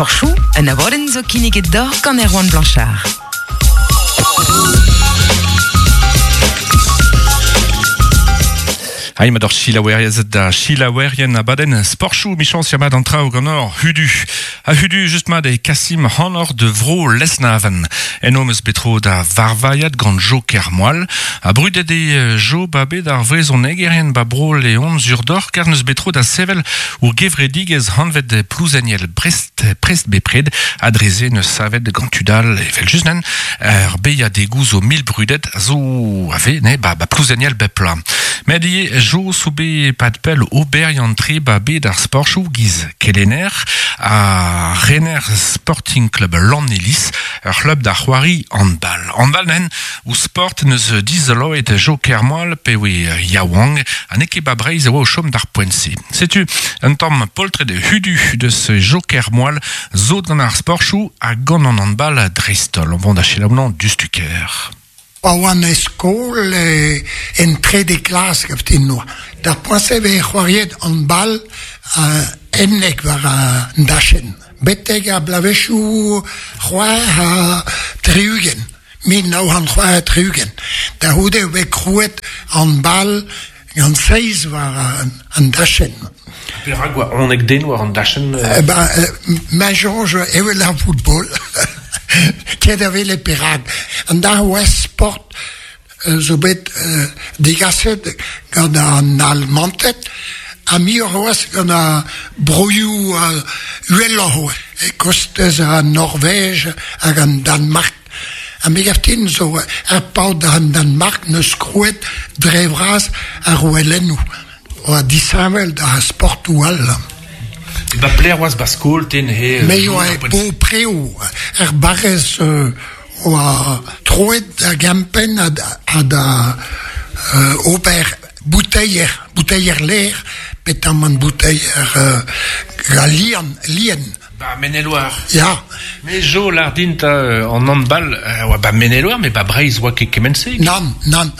Sporchoù, un abadenn zo kinniget deoc'h gant Erwan Blanchard. Hai mat ur selaouerez da selaouerien abadenn sporchoù michañs ya mat an traoù ganeoc'h hudu. Ha hudu just mat e kasim hanoc'h de vro Lesnaven. Eno 'm eus bet tro da varvailhat gant Jo Kermoal. Ha brudet eo Jo ba bet ar vrezhonegerien ba bro Leon sur-doc'h kar 'neus bet tro da sevel ur gevredigezh hanvet Plouzeniel Brest prest bepred ha dre se 'neus savet gant tud all evel-just nen ur beilhadegoù zo mil brudet a zo a vez ne ba, ba Plouzeniel bep bloaz. Met ivez Jo zo bet pad pell oberiant-tre ba bed ar sporchoù giz kelenner ha rener Sporting Club Lanniliz, ur c'hlub da c'hoari handball. Handball nen ouzh sport 'neus dizoloet Jo Kermoal pe oe yaouank ha n'eo ket ba Breizh e oa o chom d'ar poent-se. Setu un tamm poltred hudu deus Jo Kermoal zo gant ar sporchoù ha gant an handball dreist-holl. On vont da selaou diouzhtu-kaer. Pa oan e skol en trede klas gaftin noa. D'ar poent-se e veze c'hoariet handball ennek war an dachenn. Betek ar bloavezhioù 66, 1966. Da c'houde e voe krouet handball gant seizh war an dachenn. Perak oa honek den war an dachenn? Eh ben, ma soñj evel ar football. Ket a wele perak. An darvoud sport zo bet degaset gant an Almanted ha muioc'h c'hoazh gant ar broioù uheloc'h e kostez an Norvej hag an Danmark. Ha me gav din zo ar paotr an Danmark 'neus krouet dre vras ar ouelennoù oa disheñvel da sportoù all. Ba pelec'h oas ba skol te neuze? Me oa e Beaupreo, er barrez oa troet da gempenn ha da ober bouteier, bouteier lêr, petamant bouteier lien, lien. Ba Maine-et-Loire. Ya. Me Jo lâr din 'ta an handball oa ba Maine-et-Loire, met ba Breizh oa ket kement-se. Nann, nann.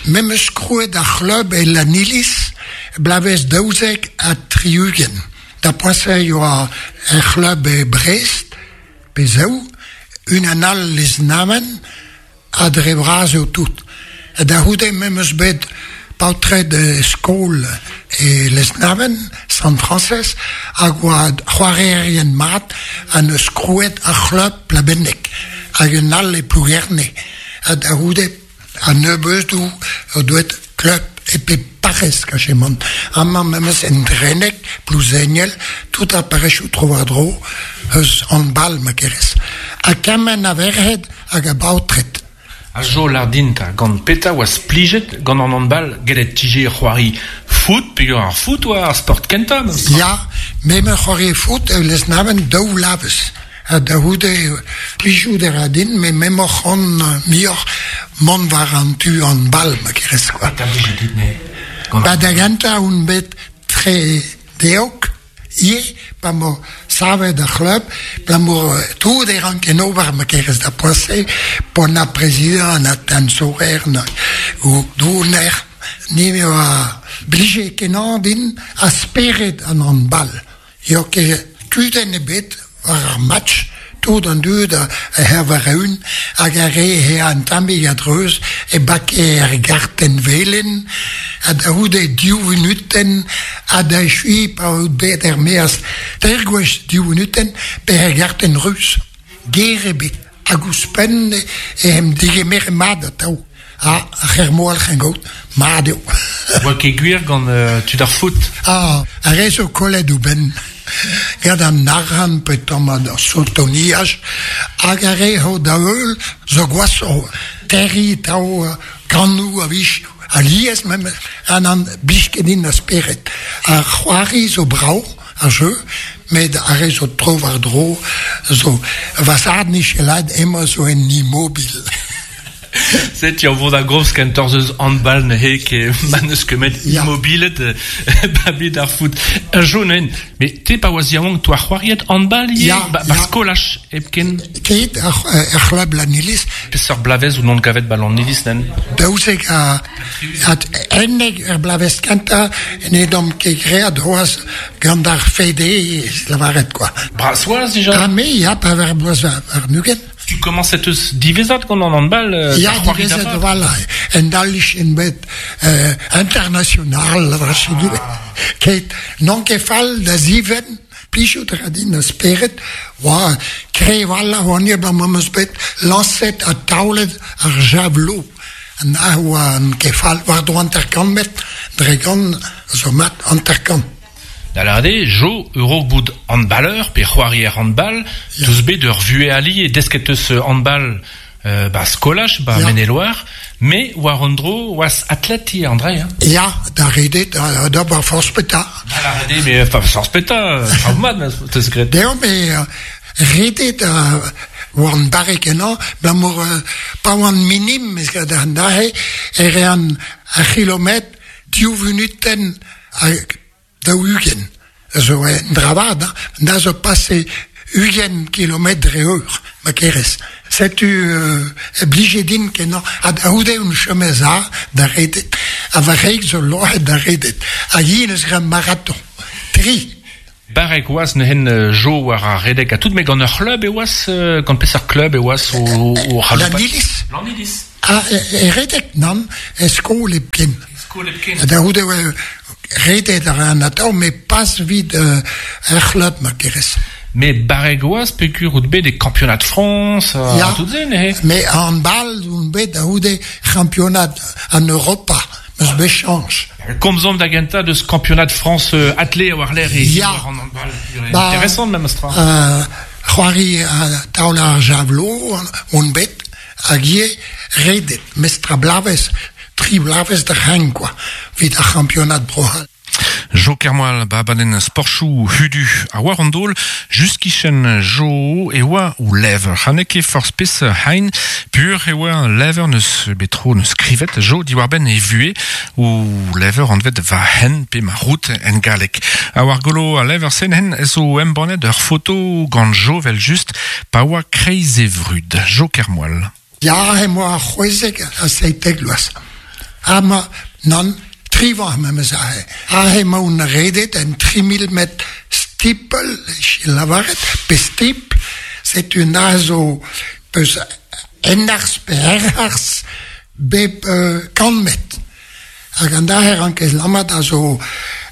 Me 'meus krouet ar c'hlub e Lanniliz bloavezh 72. Da poent-se e oa er c'hlub e Brest, pe zaou, unan all Lesnaven, Ha dre vras eo tout. Da c'houde me 'm eus bet paotred skol e Lesneven, Sant-Frañsez, hag oa c'hoarierien mat ha 'neus krouet ar c'hlub Plabenneg hag un all e Plougerne. Ha da c'houde a-nebeudoù o doet klub e pep parrez kachemant. Amañ memes en Dreneg, Plouzeniel, tout ar parrezioù tro-war-dro eus handball ma kerez. Ha kement a verc'hed hag a baotred. Ha Jo lardin 'ta, gant petra oas plijet gant an handball gellet 'tije c'hoari foot peogwir ar foot oa ar sport kentañ memes tra? Ya, me 'm c'hoarie foot e Lesneven daou vloavezh. Ha da c'houde plijout a ra din met m'emaoc'h on muioc'h mont war an tu handball ma kerez quoi. Petra blije dit neuze? Ba da gentañ on bet tre deok ivez pa 'mo savet ar c'hlub abalamour tout e ranken ober ma kerez da poent-se p'on na prezidant na teñzorer na douner ni me oa blije kenañ din ha spered an handball. Eo ket kudenn ebet war ar match, tout an dud a war-eeun hag ar re he an tammig a-dreuz e bake er gartenn velen ha da c'houde div vunutenn ha da echuiñ pa out bet er-maez teir gwech div vunutenn pe er gartenn ruz. Ger ebet hag ouzhpenn e em degemere mat atav. Ah, ar c'hermoal c'hengaout, mat eo. Oa ket gwir gant tud ar foot? Ah, ar re zo kollet o benn gant an arc'hant pe tamm an sotoniaj hag ar re ho da heul zo gwashoc'h. Terriñ tav kannoù a-wech, alies memes, ha n'an blij ket din a spered. Ar c'hoari zo brav, ar jeu, met ar re zo tro-war-dro zo va zad 'nije lâret emañ zo en immobil. Setu ur vod a gomz kentoc'h eus handball neuze ke ma n'eus ket met Ya. immobilet ba bed ar foot. Un jo neuze, met te pa oas yaouank toa c'hoariet handball ivez? Ya, Ba, ba ya. skolaj hepken? Ket ar, ar c'hlub Lannilis, Peseurt bloavezh ou non gavet ba Lannilis nen? daouzek a, at ennek er bloavezh kentañ ne dom ket graet c'hoazh gant ar FD, lavaret quoi. Bras oas dija? Ha me, ya, pa ver bloaz war nugen. Tu commences eus divezat gant an handball Ja, da c'hoari divezet da vat? voilà, en dallich en bet international, ah. Ket, non ket fall da ziven, plijout a din a spered, oa krevalla oan eo ba meus bet lañset ha taolet ar javelot. An a oa an kefal war dro hanter-kant met, dre gant zo mat hanter-kant. Da lâret eo, Jo, ur bout handballeur pe c'hoarier handball, Ya. deus bet ur vuhez ali e desket eus handball ba skolaj, ba Ya. Maine-et-Loire, me war an dro oas athlète ivez, André. Hein? Ya, da redet, da, da bar forz peta. Da lâret eo, mais enfin, forz peta, traoù mat, teus graet. Deo, me redet oan barrek ennañ, blamour pa oan minim, ez gant an dahe, e rean ar c'hilometr div vunutenn ha daou-ugent. Zo un dra vat, hein. Da zo pase 20 kilometr dre eur, ma kerez. Setu e blije din kenañ, ha da c'houde un chomez a da redet, ha va reik zo loc'het da redet. Hag hi eus graet marathon. Tri. Barrek oas neuzen Jo war ar redek ha tout, met gant ur c'hlub e oas, gant peseurt klub e oas o, o c'haloupat? Lannilis. Lannilis. Ah, e redek nan, e skol hepken. Skol hepken. Da c'houde oa redet ar an atav, met pas vid ar c'hlub, ma kerez. Mais barrek oas peogwir out bet e championnat de France, Ya. tout se neuze. Mais handball, on bet da c'houde championnat an Europa, meus bet chañs. Komzomp da gentañ deus championnat de France athlé war l'air e Ya. war an handball. Ba, Intéressant même astra. C'hoari taol ar javelot, on bet, hag ivez redet, mestra blavez, tri blavez da c'hang, quoi, vit ar championnat Bro-C'hall. Jo Kermoal, ba baden sportchou hudu a war an dol, just kichen Jo e oa ou lever. Ha n'eo ket forzh pes hein, pur e oa lever neus betro neus skrivet Jo diwar ben e vue ou lever anvet va hen pe ma route en galek. A war golo a lever sen hen zo embannet ur foto gant Jo vel just pa oa kreiz e vrud. Jo Kermoal. Ja, he moa c'hwezek a seitek loaz. Ha ma, nan, trivañ memes ahe. Ha he ma on redet en 3000 met stipel, e lavaret, pe stip, setu na zo peus enarz pe erarz bep kant met. Hag an daher an kez lammat a zo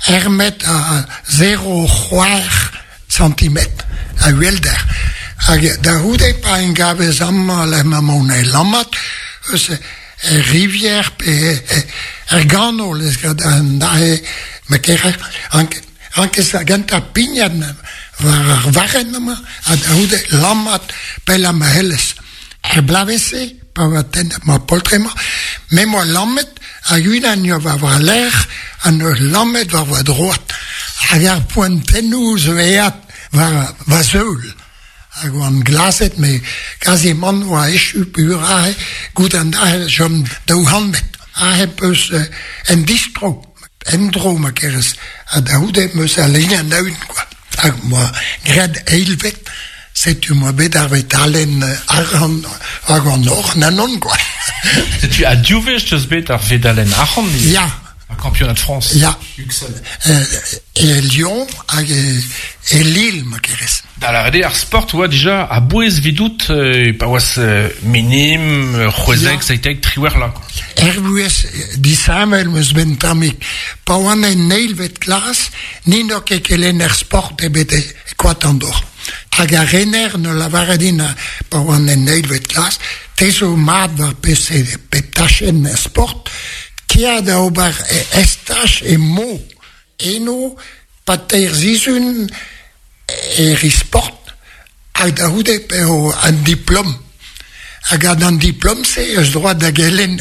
ermet a 0,4 centimet a uelder. Hag da c'houde pa en gavez amañ le ma mon e lammat, eus e rivière pe er ganol ez gant an dahe ma kerer an kez a genta pignat war ar varren amañ, ha da c'houde lammat pell am hellez. Er blavese, pa oa tennet ma poltremañ, me moa lammet hag unan eo war war lec'h an ur lammet war war droad. Hag ar poentennoù zo eat war va zeul. Hag oan glazet, me quasiment oa echu pur ahe, gout an ahe jom daou hanmet. Ahe peus en distro, en dro ma kerez. Ha da c'houde meus a lein an aoun, quoi. Hag moa graet eilvet, setu moa bet ar vetalen arc'hant hag an or nanon, quoi. Setu a div wech deus bet ar vedalen arc'hant ivez. Ya. Ar championnat de France. Ya. Uxel. E Lyon hag e Lille, ma kerez. Da lâret eo ar sport oa dija a bouez vidout pa oas minim, c'hwezek, Ya. seitek, triwec'h la. quoi. Er vuhez disheñvel meus ben tammig. Pa oan en eilvet klas, nin eo ket kelenner sport ebet e koad an dor. Hag ar rener ne lavaret din pa oan en eilvet klas, te zo mat war pese pep tachenn er sport, kea da ober e estach e mo. Eno, pa teir zizun e ri sport, hag da c'houde pe o an diplom. Hag an diplom-se eus droit da gelen.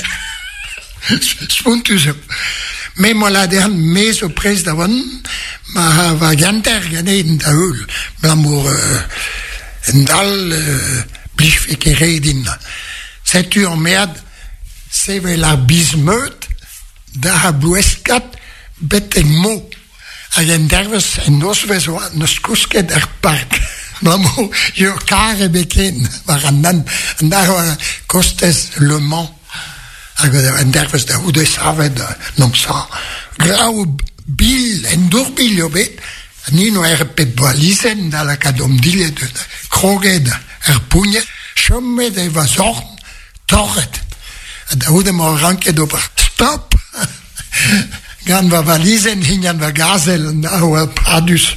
Spontus eo. Me moa la dehan me zo prez da oan, ma va ganter ganen da heul, blamour en dal blijfe ket re din. Setu an mead sevel ar biz-meud da ar bloueskat betek mo. Hag en dervez, en nozvez oa, neus kousket er park. Bremañ, eo kar ebet ken war an hent. An dar oa kostez Le Mans. Hag en dervez da c'houde savet n'omp sa. Glav bil, en dour-bil eo bet. Ni noa er pep balizenn da lakaat hom dilhad kroget er pougnet. Chomet e va zorn torret. Ha da c'houde 'moa ranket ober stop gant va valizenn hini va gazel a oa padus.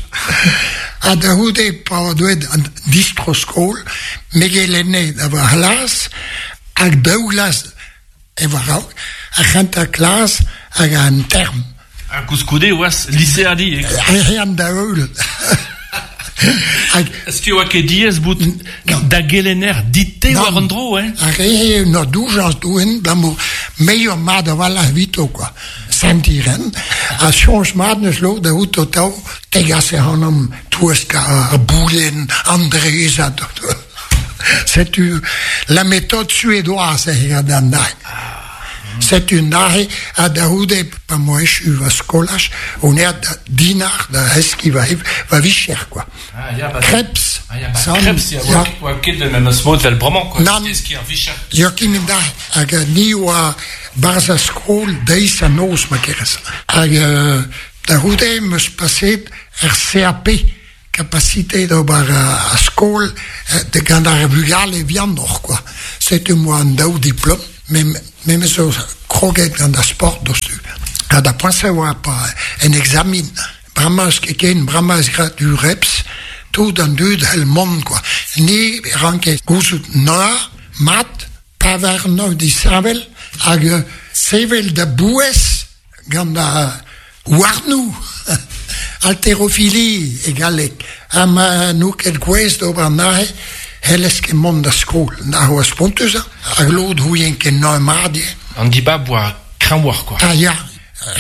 Ha da c'houde pa oa deuet an distro-skol, me gelenne da va c'hlas hag daou glas e war-raok, ar c'hentañ klas hag an term. Ha koulskoude e oas liseadi, eh? Ehan da heul. Hag Est-ce que oa ket diaes bout da gelenner dit-te war an dro, eh? Ar re ur doujañs doen, blamour meilleur mat a-walc'h evito, quoi. Sentiren. Ha soñj mat neus lod da out o tav tegas ac'hanomp touesk ar boulenn, an drezad. Setu la méthode suédoise e gant an nae. Setu neuze, ha da c'houde, pa 'moa echu va skolaj, on aet da Dinard da zeskiñ va, va vicher, quoi. Ah, ya, ba, Krebs. Ah, ya, ba, san, Krebs, ya, ya. Oa ket memes mod vel bremañ, quoi. Nann. Deskiñ ar vicher. Ya, kement da. Hag ni oa barzh ar skol deiz ha noz, ma kerez. Hag da c'houde 'm eus paseet er CAP, Kapasite d'ober ar skol gant ar vugale vihanoc'h kwa. Setu 'moa an daou diplom, memes zo kroget gant ar sport doc'htu. Ha da poent-se oa pa en examen. Bremañ eus ket ken, bremañ eus graet ureps, tout an dud c'hell mont kwa. Ni ranke gouzout na, mat, pa warno disheñvel hag sevel da bouez gant ar houarnoù, haltérophilie e galleg, ha ma n'out ket gouest d'ober neuze, c'hellez ket mont da skol. Na oa spontus, hag lod c'houien ket neuze mat eo. An dibab oa kreñvoc'h, quoi. Ah ya,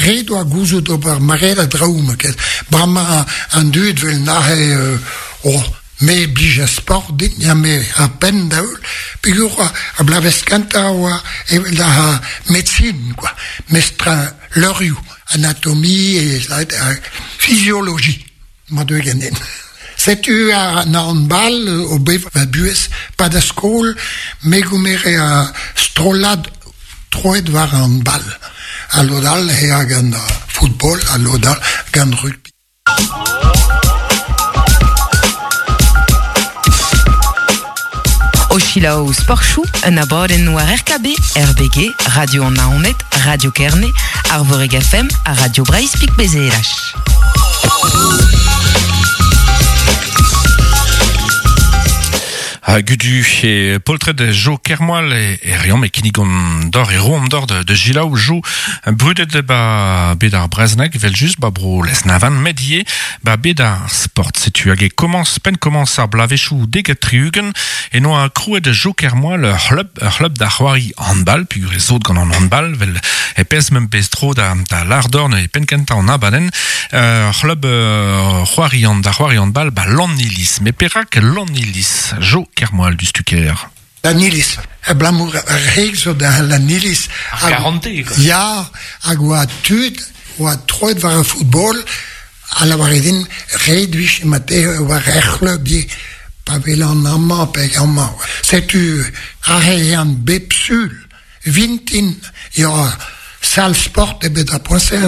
ret oa gouzout ober maread a draoù, ma ket. Bremañ an dud 'vel neuze, oh, Me blij ar sport din, ya me ar penn da heul, peogwir ar bloavezh kentañ oa evel ar medsin kwa, mestr leurioù, anatomie, fizioloji, ma deu ganin. Setu an handball o bevañ va buhez, pa da skol, me gomere ar strollad troet war an handball, ha lod all eh a gant football, ha lod all gant rugby. O selaou Sportchoù, un abadenn war RKB, RBG, Radio an Naoned, Radio Kerne, Arvorig FM ha Radio Breizh Pik Bezelach. Ha gudu e poltred Jo Kermoal e, e reomp e kinnigon d'or e roomp d'or de, de Gilaou Jo brudet ba bet ar brezhoneg vel just ba bro Lesnavan met ivez ba bet ar sport setu hag e komañs penn komañs ar bloavezhioù 70 e noa krouet Jo Kermoal ur c'hlub ur c'hlub da c'hoari handball peogwir e zot gant an handball vel e pezh meump bet tro da da lardorn e penn kentañ an abadenn ur c'hlub c'hoari an da c'hoari handball ba Lanniliz met perak Lanniliz Jo Kermoal du Stuker Lanniliz abalamour ar reg zo da Lanniliz ar garante quoi ya hag oa tud oa troet war ar football a lavare din ret vije ma teue war er c'hlub ivez pa welan amañ pe amañ. Setu aze ehan bep sul vintin ya sal sport ebet ar poent-se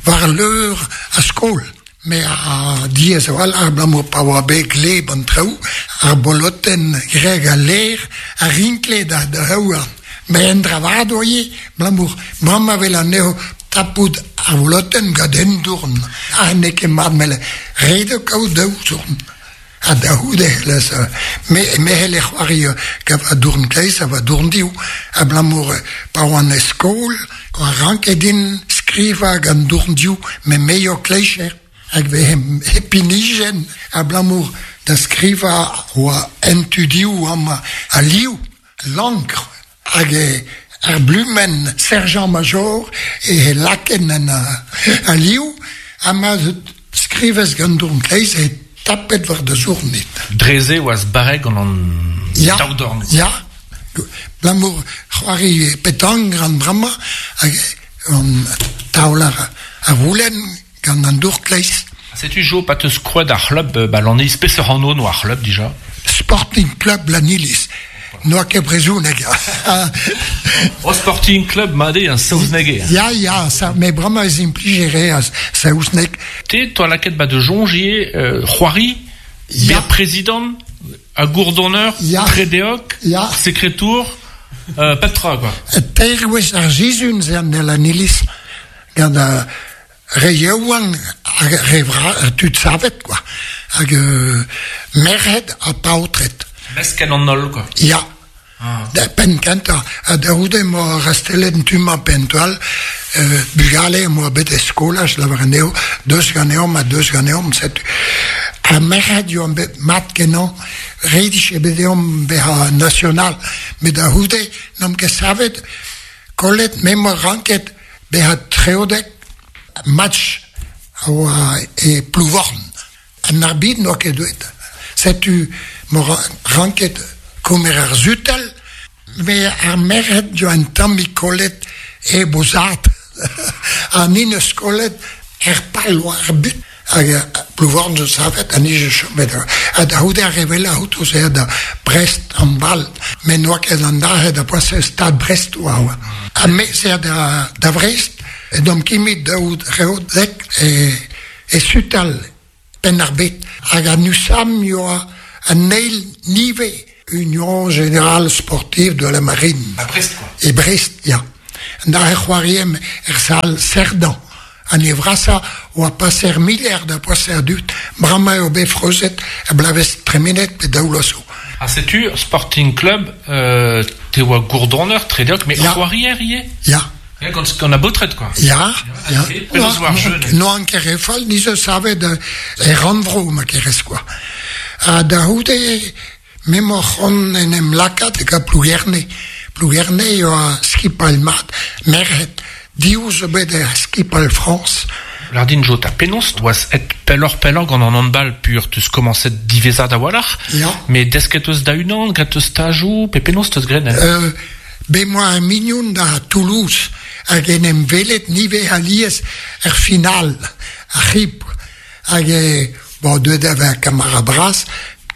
war leur ar skol. Me a diaes a-walc'h abalamour pa oa bet gleb an traoù, ar bolotenn greg al lêr a rinkle da houarn. Met un dra vat oa ivez, abalamour mamm a wel anezho tapout ar volotenn gant un dourn. Ha n'eo ket mat met ret eo kaout daou zourn. Ha da c'houde c'hellez me me c'helle c'hoari gant va dourn kleiz ha va dourn div abalamour pa oan e skol a ranke din skrivañ gant dourn div met me eo kleicher hag vehe hepinijenn abalamour da skrivañ oa en tu div amañ al liv lankr hag ar blumenn serjant-major e laken en al liv ha ma skrivez gant dourn kleiz e tapet war da zournit. Dre-se oas barrek gant an ya, daou dorn. Ya, abalamour C'hoari petank gant bremañ hag an taol ar voulenn gant an dour kleiz. Setu Jo pa teus kroet ar c'hlub ba Lanniliz, peseurt anv noa ar c'hlub dija? Sporting Club Lanniliz. N'oa ket brezhoneg. O Sporting Club mat eo, saozneg eo. Ya, ya, sa, met bremañ ez implije re a saozneg. Te, toa lakaet ba da soñj ivez c'hoari, Ya. bezañ prezidant, ha gourdonneur, Ya. tredeog, Ya. sekretour, pep tra quoi. Teir gwech ar sizhun ze an Lanniliz gant ar re yaouank hag re vra tud savet quoi. Hag merc'hed ha paotred. Mesket an holl quoi. Ya. Da penn kentañ. Ha da c'houde em boa rastellet un tu-mañ pe un tu all bugale em boa bet e skolaj, lavar anezho, deus ganeomp ha deus ganeomp, setu. Ar merc'hed yoa bet mat-kenañ, ret eo bet deomp bezañ national. Met da c'houde n'omp ket savet, kollet, me 'm boa ranket bezañ treodek match a oa e Plouvorn. An arbitr n'oa ket deuet. Setu 'm boa ranket komer ar sutal, met ar merc'hed zo un tammig kollet hep o zad. Ha ni 'neus kollet er pal war ar but. Hag Plouvorn zo savet ha ni zo chomet. Ha da c'houde ar re wellañ outo ze da Brest an bal. Met n'oa ket an dac'het da poent Stad Brest oa. oa. Ha me ze da Vrest, edomp kimit daout reodek e sutal Penn-ar-Bed. Hag an USAM yoa an eil nive Union Générale Sportive de la Marine. A Brest quoi. E Brest, ya. Da e c'hoariem er sal Cerdan. An e vrasa oa paser miller da paser dud, bremañ eo bet freuzet a blavez tremenet pe daou zo. Ha setu Sporting Club, te oa gourdonneur, tredeog, met Ya. c'hoarier ivez? Ya. Ya, gant a baotred quoi. Ya, ya. ok. Penaos oa ar jeu, neuze? N'oan ket re fall, ni zo savet e rannvro ma kerez quoi. Ha da c'houde, me 'moa c'hoant en em lakaat e gant Plougerne. Plougerne eo a skipal mat, merc'hed. Div zo bet er skipal Frañs. Lardin Jo, ta penaos oas et pelloc'h pellañ gant an handball pur teus komañset diwezhat a-walc'h. Ya. Met desket eus da-unan, graet eus stajoù, pe penaos teus graet neuze? Bet 'moa un mignon da Toulouse hag en em welet nive alies er final, ar c'hib. Hag bon, deuet da vezañ kamarad bras,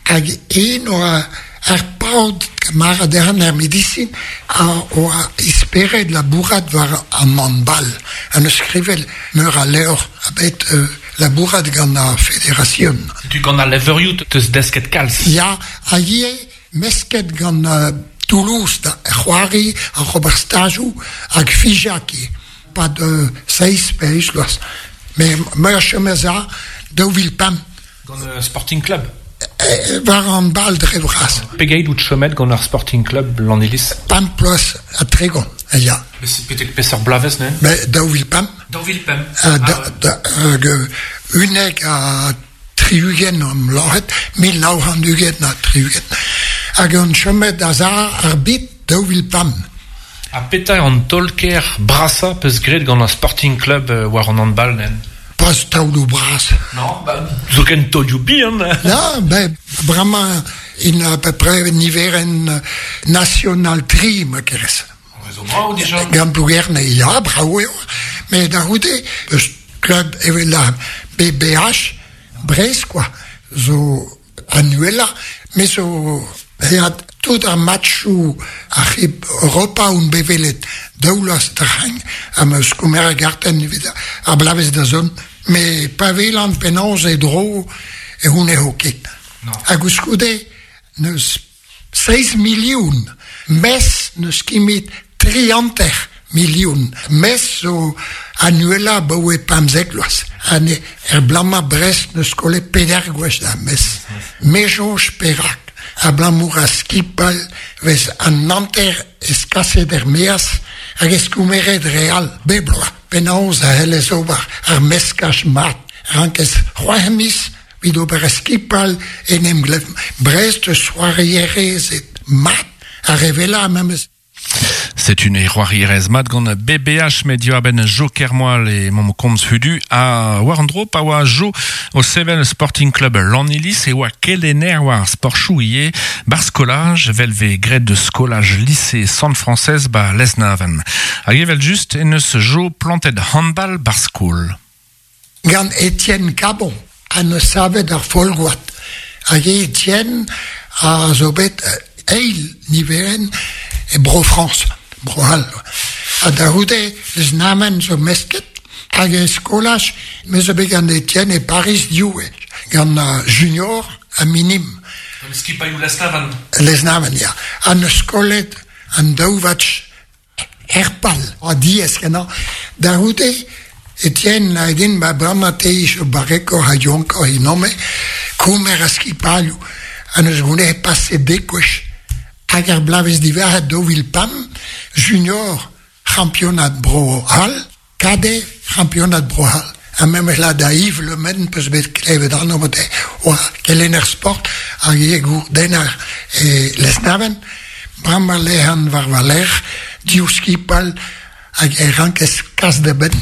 hag en oa ar paotr kamarad dezhañ er medisin a oa esperet labourat war an handball. Ha neus skrivet meur a levr ha bet labourat gant ar federasion. Setu gant al levrioù teus desket kalz. Ya, ha ivez mesket gant Toulouse da c'hoari ar ober stajoù hag Figeac ivez. Pad seizh pe eizh vloaz. Met me a chom a-za 2005. Gant Sporting Club? War an bal dre vras. Pegeit out chomet gant ar Sporting Club Lanniliz? 5 bloaz ha 30, ya. Betek peseurt bloavezh neuze? Mais 2005. 2005. Hag 71 am lâret, 1920. Hag on chomet a-za ar bit 2005. Ha petra eo an taol-kaer brasañ peus graet gant ar Sporting Club war an handball nen? Pas taoloù bras. Non, ba, zoken taolioù bihan. Ya, ben, bremañ in à peu près niverenn national tri, ma kerez. Zo brav dija. Gant Plougerne, ya, brav eo. Met da c'houde, eus klub evel la BBH, Brest, quoi, zo annuelañ, me zo eat tout ar matchoù ar c'hib Europa on bet welet daou vloaz d'ar-c'hang ha 'm eus komeret gartenn evit ar bloavezh da zont. Met pa welan penaos e dro e c'hounezho ket. Ha koulskoude n'eus 7 milion mes n'eus ket 3 milion. Mes zo annuelañ abaoe 15 vloaz. Ha ne, er bloaz-mañ Brest n'eus kollet peder gwech da mes. Me soñj perak. Abalamour a skipal vez an hanter ez kaset er-maez hag ez komeret re all bep bloaz. Penaos a c'hellez ober ar meskaj mat. Rankez c'hwec'h miz evit ober ar skipal en em glev. Brest eus c'hoarierezed mat a revela memes. Setu ne c'hoarierez mat gant BBH met diwar-benn Jo Kermoal e mom komz hudu a war an dro pa oa Jo o sevel Sporting Club Lannilis e oa kelenner war ar sportchoù ivez bar skolaj vel vez graet de skolaj lycée Sant-Frañsez ba Lesneven. Hag evel just en eus Jo plantet handball bar skol. Gant Etienne Cabon ha neus savet ar Folgoad. Hag Etienne a zo bet eil niverenn e Bro-Frañs, Bro-C'hall. Ha da c'houde Lesnamen zo mesket hag e skolaj me zo bet gant Etienne e Pariz div wech, gant junior ha minim. Gant skipailhoù Lesnaven? Lesnaven, ya. Ha neus kollet an daou vatch Er pal, oa diaes-kenañ. Da c'houde Etienne a din ma bremañ te zo barrekoc'h ha yaouankoc'h evidon-me, komer a skipalioù ha n'eus gounezet pase dek gwech. Hag ar bloavezh diwezhañ 2005, junior c'hampionad Bro-C'hall, Cadet c'hampionad Bro-C'hall. Ha memes la da Yves Le Men peus bet klevet anv oa oa kelenner sport hag ivez gourdenner e Lesneven. Bremañ lec'han war va lerc'h div skipal hag e rankez kas da benn.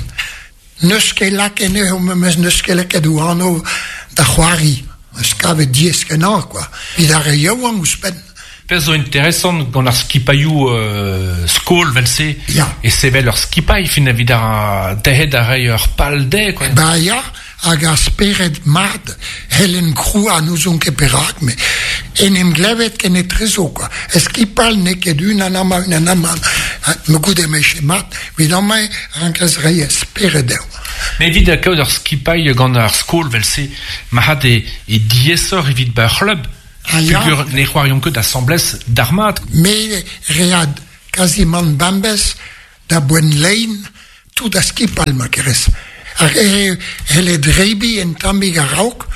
N'eus ket lakaet anezho memes n'eus ket lakaet o anv da c'hoari. Eus kavet diaes-kenañ quoi. Evit ar re yaouank ouzhpenn. Pezh zo interesant gant ar skipailhoù skol 'vel-se Ya. e sevel ur skipailh fin evit ar derc'het a reiñ ur pal dezhe quoi. Ba ya, hag ar spered mat Helen Kroua n'ouzon ket perak met en em glevet kenetrezo quoi. E skipal n'eo ket unan amañ unan amañ. Ma goude me mat evit amañ rankas reiñ spered dezho. Mais evit kaout ur skipailh gant ar skol 'vel-se marc'had e, e diaesoc'h evit ba ur c'hlub. Ah ya. Peogwir ne c'hoariont ket asambles d'ar mat. Me read kazimant bembez da boent lein tout a skipal ma kerez. Ar re c'helle drebiñ un tammig a-raok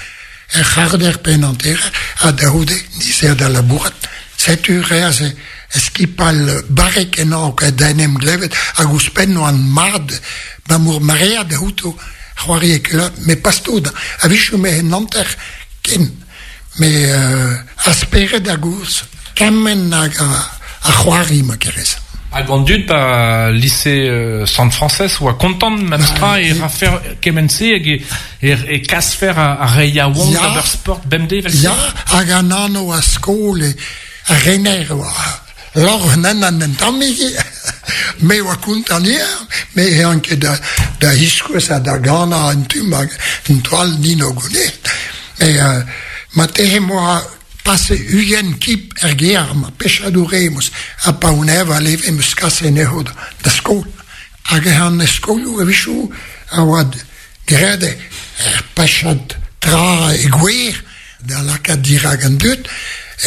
er c'harter pe en hanter ha da c'houde dizer da labourat. Setu reas e skipal barrek ennañ da en em glevet hag ouzhpenn oan mat 'bamour maread outo c'hoari e klub met pas tout. A-wechoù me en hanter ken. Me a spered a goulz kement hag a c'hoari ma kerez. Hag an dud ba lise Sant-Frañsez oa kontant memestra e rafer kement-se hag e kasfer ar re yaouank d'ober sport bemdez evel-se? Ya, hag an anv a skol e ar rener oa lorc'h an un tammig. Me oa kontant ivez, me ehan ket da ziskouez ha da ganañ un tu hag un toal nin o gounid. Mais marteze 'moa pase 20 kip er gêr ma pechadour eo ha pa on ev a leve 'm eus kaset anezho da skol. Hag an skolioù a-wechoù a oa graet er pechad tra e gwer da lakaat dirak an dud.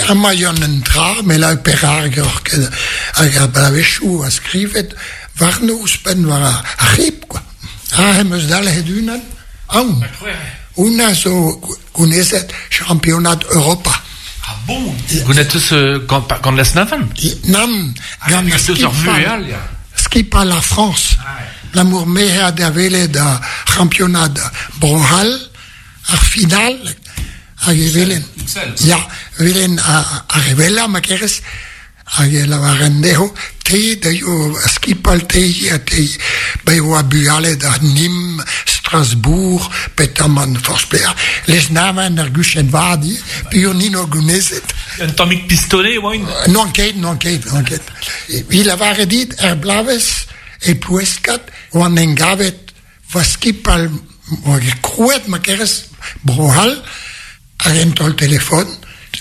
Amañ yann un dra, me lak perak ur ket hag ar bloavezhioù a skrivet warno ouzhpenn war ar c'hib quoi. Ah, em eus dalc'het unan, aon. Hounnezh zo gounezet championad Europa. Ah bon? Gounet eus gant, gant Lesneven? Nann, gant skipailh, skipailh ar Frañs. Abalamour me a da welet ar championad Bro-C'hall, ar final, hag e welen, ya, welen ar re wellañ ma kerez, Hag e lavaren dezho, te deio skipal te ha te be oa bugale da Nîmes, Strasbourg, petamant forzh pelec'h. Lesneven ar guchenn vat ivez, peogwir ni 'noa gounezet. Un tammig pistolet e oaint? N'oan ket, n'oan ket, n'oan ket. Evit lavaret dit, er bloavezh e Ploueskad oan engavet va skipal oa krouet ma kerez Bro-C'hall hag un taol telefon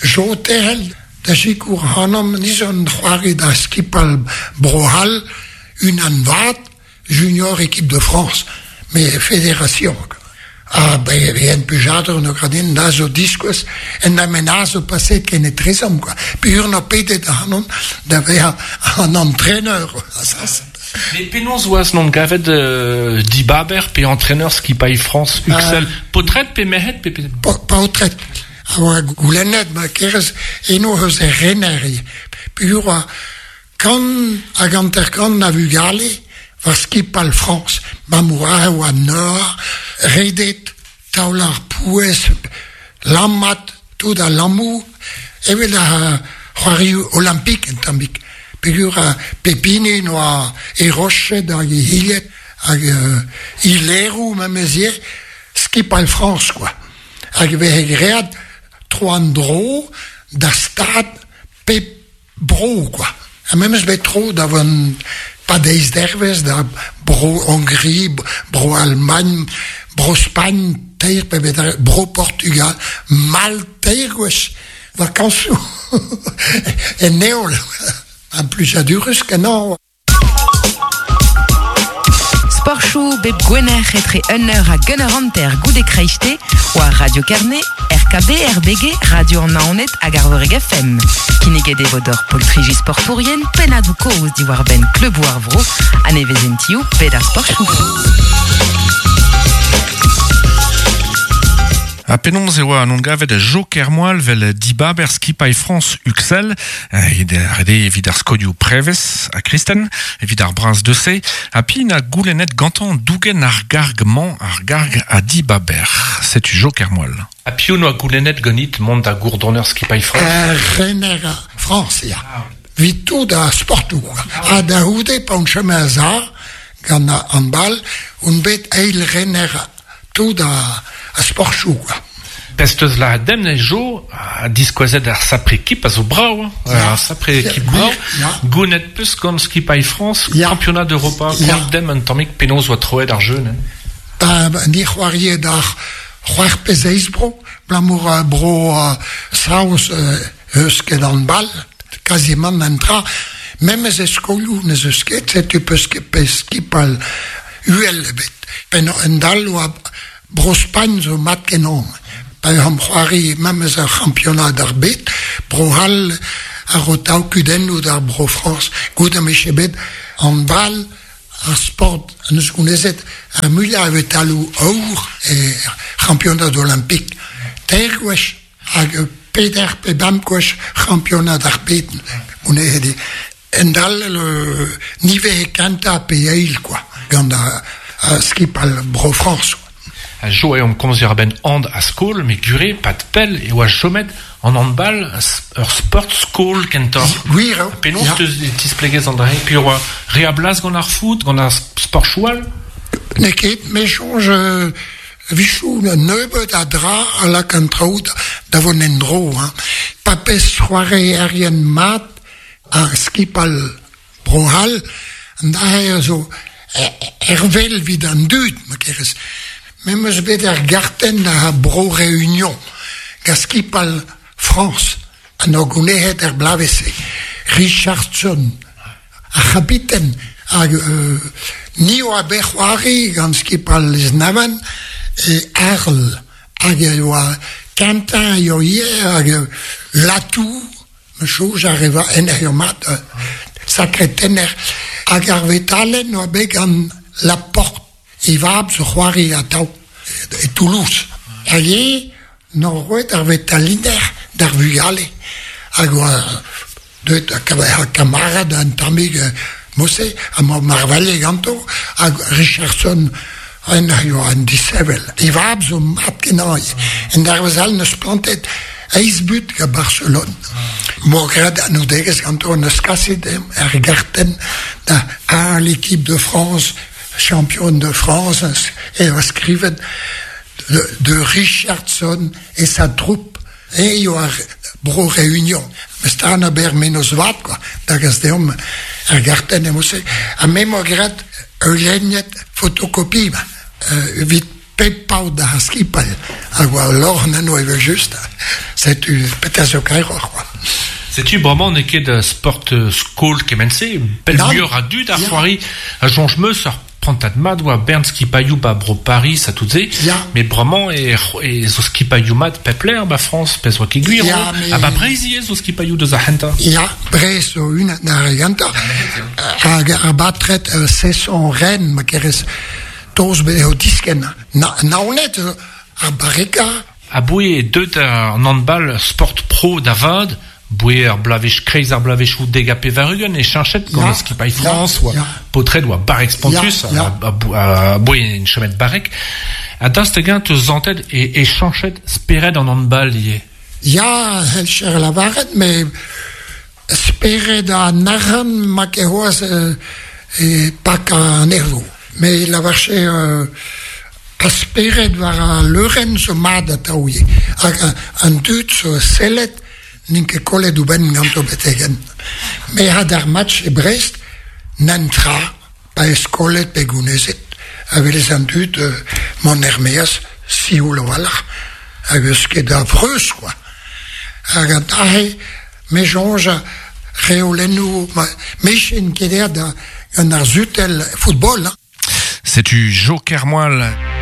Jo Terrel da sikour ac'hanomp ni zo un c'hoari da skipal Bro-C'hall unan vat junior équipe de France mais fédération ha ben en plijadur no gradin da zo diskouez en amen zo paset ken etrezomp quoi peogwir 'noa pedet ac'hanon da vezañ an entraîneur Mais penaos oas n'on gavet dibaber pe entraîneur skipailh France Uxel paotred pe merc'hed pe Paotred a oa goulennet ma kerez eno eus er rener ivez peogwir oa kant hag hanter-kant a vugale war skipal Frañs 'bamour aze oa nor redet taol ar pouez lammat tout al lammoù evel ar c'hoarioù olimpik un tammig. Pegur a pepini noa e rochet hag e hilet hag ilerou memezier skipal Frans, quoi. Hag vehe great tro an dro da stad pep bro, quoi. Ha memes bet tro da vont pa deiz dervez da bro Hongrie, bro Allemagne, bro Spagn, teir pe bet bro Portugal, mal teir gwech, vakansoù en neol. An plujadurus kenañ. Sportchou bep gwener etre 1h hag 1h50 goude kreiste war Radio Kerne, RKB, RBG, Radio an Naoned hag Arvoreg FM. Kinniget e vo d'hor poltriji sportourien pennadoù kozh diwar-benn kleuboù ar vro ha nevezentioù bed ar sportchoù. Ha penaos e oa an gavet Jo Kermoal vel dibaber skipailh Frañs Uxel, rede evit ar skolioù prevez ha kristen, evit ar braz deuse, ha pi na goulennet gantañ dougen ar garg-mañ, ar garg a dibaber. Setu Jo Kermoal. Ha piv noa goulennet ganit mont da gourdoner skipailh Frañs? Rener Frañs, ya. Vit tout ar sportoù. Ha da c'houde, pa on chomet a-za gant an handball, on bet eil rener tout a sportoù, quoi. Pezh teus lâret demp ne Jo ha diskouezet ar sapre ekip a zo brav, ar sapre ekip brav. Gounet peus gant skipailh Frañs kampionad Europa, kont demp un tammig penaos oa troet ar jeu neuze. Ba ni c'hoarie d'ar c'hwec'h pe seizh bro, abalamour bro Saoz eus ket handball, kazimant un dra, memes e skolioù n'ez eus ket, setu peus ket pe skipal uhel ebet. Penn un dall oa Bro-Spagn zo mat-kenañ. Pa eo c'hoari memes ar c'hampionad ar bed, Bro-C'hall a ro tav kudennoù d'ar Bro-Frañs. Goude ma vije bet handball ar sport en deus gounezet ar muiañ a vetaloù aour er c'hampionad olimpik. Teir gwech hag peder pe bemp gwech c'hampionad ar bed gounezet eo. Endal niver kentañ pe eil quoi, gant ar skipal Bro-Frañs. A jo eo komz a-benn and a skol, met gure, pad pell e oa chomet an handball ur sport skol kentoc'h. Gwir eo. Penaos teus tisplegez an dra-se? Puis oa re a blas gant ar foot, gant ar sportoù all? N'eo ket, me soñj A-wechoù nebeut a dra a lak an traoù da vont en-dro. Hein. Pa pez c'hoarierien mat ar skipal Bro-C'hall, an dra-se a zo hervel evit an dud, ma kerez. Me 'm eus bet ar gartenn a Bro-Reunion gant skipal Frañs an ur gounezet er bloavezh-se. Richardson, ar c'habiten, hag ni oa bet c'hoari gant skipal Lesneven e Arles hag e oa Quentin a yoa ivez hag Latou, ma soñj a reva en mat sakre tenner hag ar vetalenn oa bet gant Laporte. E vab zo c'hoari atav e Toulouse. Hag eo n'o roet ar vetaliner d'ar vugale hag oa deuet ar kamarad un tammig mod-se ha ma marvailhe ganto hag Richardson en a yoa un disheñvel. E vab zo mat-kenañ. En dervezh all 'neus plantet eizh but gant Barcelone. M'oa graet anoudegezh ganto 'neus kaset er gartenn da A l'équipe de France Champion de France e oa skrivet de Richardson et sa troupe e eo ar Bro Réunion. Mes aber mennozh vat quoi, da gas deomp ar gartenn emo-se. Ha me 'moa graet ul lennad fotokopie evit pep paotr d'ar skipailh hag oa lorc'h eno evel-just. Setu petra zo kaeroc'h quoi. Setu bremañ n'eo ket sport skol kement-se, pell muioc'h a dud a c'hoari a soñj 'meus ur prantad mat oa bern skipailhoù 'ba bro Paris ha tout se, met bremañ e zo skipailhoù mat pep lec'h 'ba Frañs, pezh oa ket gwir, ha 'ba Breizh ivez zo skipailhoù deus ar c'hentañ. Ya, Breizh zo unan ar re gentañ, hag ar batred Cesson Rennes, ma kerez Toz eo diskenn. Naoned ar barrekañ. Aboe eo deuet an handball sport pro da vat, boe ar bloavezh kreiz ar bloavezhioù 90 e cheñchet gant skipailh Frañs, oa paotred oa barrek spontus, aboe en chomet barrek. Ha daoust hag-eñ 'teus santet e cheñchet spered an handball ivez? Ya, c'hellcher lavaret, met. Spered an arc'hant ma ket c'hoazh e pak an erv. Me lavarche ar spered war al leurenn zo mat atav ivez. Hag an dud zo sellet n'int ket kollet o benn ganto betek-henn. Me had ar match e Brest, nann tra, pa ez kollet pe gounezet, a welez an dud mont er-maez sioul a-walc'h, hag eus ket a freuz kwa. Hag an dra-se Me soñj reolennoù me ket aet gant ar sutell football. Setu Jo Kermoal.